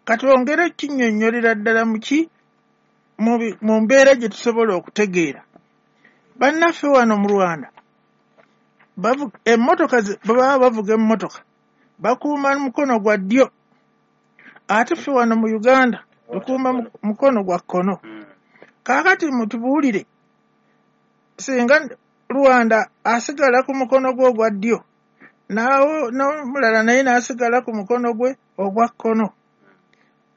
Katwongere kinnyonnyolera ddala muki mu mbeera gye tusobola okutegeera. Bannaffe wano mu Rwanda emmotoka bwe baba bavuga emmotoka bakuuma mukono gwa ddyo, ate ffe wano mu Uganda tukuuma mukono gwa kkono. Kaakati mutubuulire, singa Rwanda asigala ku mukono gwe ogwa ddyo, naawo n'omulala naye n'asigala ku mukono gwe ogwa kkono,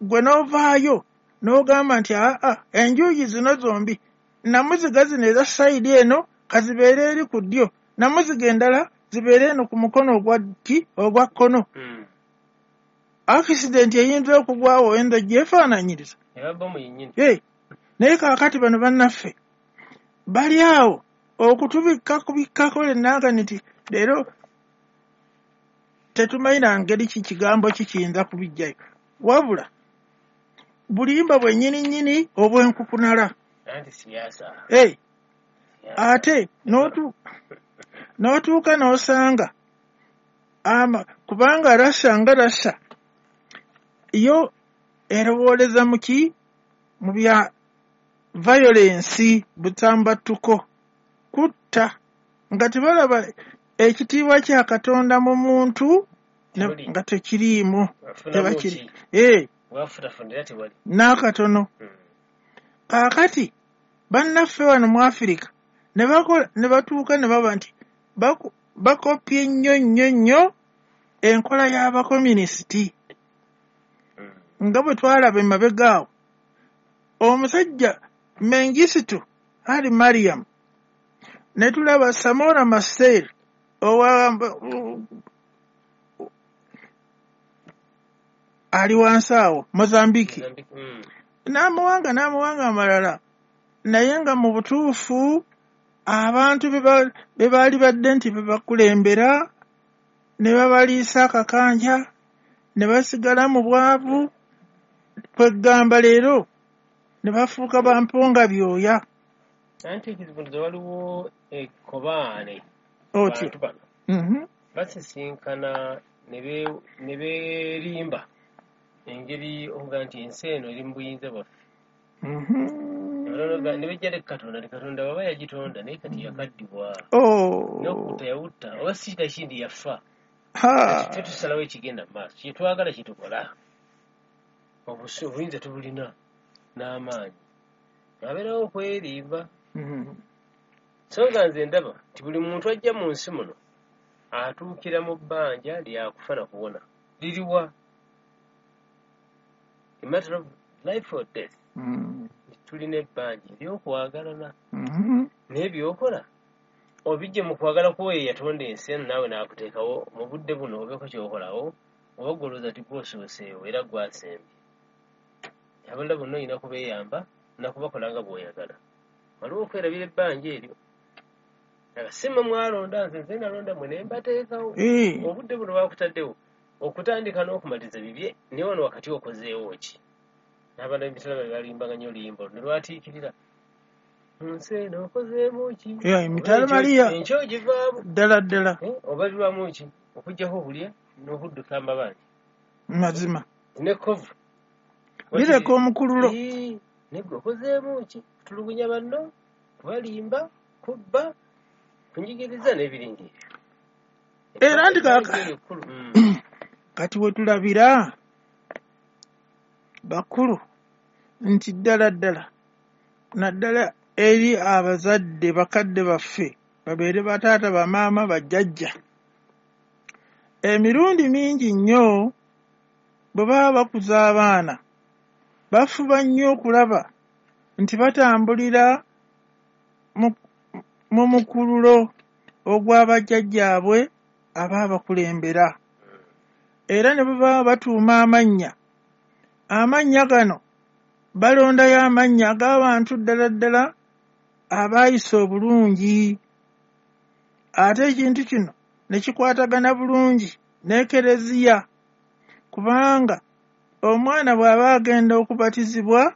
gwe n'ovaayo n'ogamba nti aa, enjuuyi zino zombi namuziga zino eza side eno kazibeere eri ku ddyo, namuziga endala zibeere eno ku mukono ogwa ki ogwa kkono, accident eyinza okugwawo oyinza gyefaananyiriza. Eba bomu yennyini. Naye kaakati bano bannaffe bali awo okutubikka kubikkako lennanga nti leero tetumanyi na ngeri ki kigambo ki kiyinza kubijjayo, wabula bulimba bwennyini nnyini obw'enkukunala. Anti siyaasa. Ate n'otuuka n'osanga ama kubanga Russia nga Russia yo erowooleza mu ki, mu bya violence, butambattuko, kutta, nga tebalaba ekitiibwa kya Katonda mu muntu Tewali. Nga tekiriimu. Afunamu Tebakiri. ki? Wafunafuna tewali. N'akatono. Kaakati bannaffe wano mu Afirika ne bakola ne batuuka ne baba nti bakopye nnyo nnyo nnyo enkola y'abakominisiti, nga bwe twalaba emabega awo omusajja Mengistu Ali Mariam, ne tulaba Samora Machel owa ali wansi awo Mozambique, Mozambique. N'amawanga amalala, naye nga mu butuufu abantu be baali badde nti bebakulembera ne babaliisa akakanja ne basigala mu bwavu, kwegamba leero ne bafuuka bampunga byoya. Anti ekizibu nti waliwo ekkobaane. Otyo. Bantu bano basisinkana ne beerimba engeri okuga nti ensi eno eri mu buyinza bwaffe. Ne bejja ne Katonda ne Katonda baba yagitonda, naye kati yakaddibwa. N'okutta yawutta, oba si nakindi yafa. Kati tusalawo ekigenda mu maaso, kye twagala kye tukola. Obuyinza tubulina n'amaanyi, abeerawo okwerimba. So nga nze ndaba nti buli muntu ajja mu nsi muno atuukira mu bbanja lyakufa na kuwona. Liriwa? A matter of life or death. Tulina ebbanja eryokwagalana. Naye byokola obijje mu kwagala kwoyo eyatonda ensi eno, naawe n'akuteekawo mu budde buno obeeko kyokolawo, oba gwolowooza ti gwosooseewo era gwasembye. Abalala bonna olina kubeeyamba nakubakola nga bw'oyagala. Waliwo okwerabira ebbanja eryo. Si mmwe mwalonda nze, nze nalonda mmwe ne mbateekawo. Obudde buno bakutaddewo okutandika n'okumaliza bibye, naye wano wakati okozeewo ki? N'abaana b'emitala bwe balimbanga nnyo oluyimba olwo ne lwatiikirira. Mu nsi eno okozeemu ki? Yeah, emitala Maria. Enkyo ogivaamu. Ddala ddala. Obalirwamu ki? Okuggyako okulya n'okudduka amabanja. Mazima. N'ekkovu. Lireka omukululo. Naye gwe okozeemu ki? Kutulugunya banno, kubalimba, kubba, kunyigiriza n'ebiringa ebyo. Era nti Ekkulu. Kati we tulabira bakulu nti ddala ddala naddala eri abazadde bakadde baffe, babeere bataata, bamaama, bajjajja, emirundi mingi nnyo bwe baba bakuza abaana bafuba nnyo okulaba nti batambulira mu mukululo ogw'abajjajjaabwe abaabakulembera. Era ne bwe baba batuuma amannya, amannya gano balondayo amannya ag'abantu ddala ddala abaayisa obulungi, ate ekintu kino ne kikwatagana bulungi n'Ekereziya, kubanga omwana bw'aba agenda okubatizibwa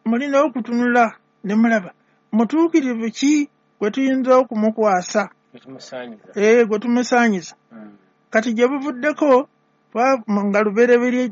mulina okutunula ne mulaba mutuukirivu ki gwe tuyinza okumukwasa, Gwe tumusaanyiza. Gwe tumusaanyiza. Kati gye buvuddeko nga lubereberye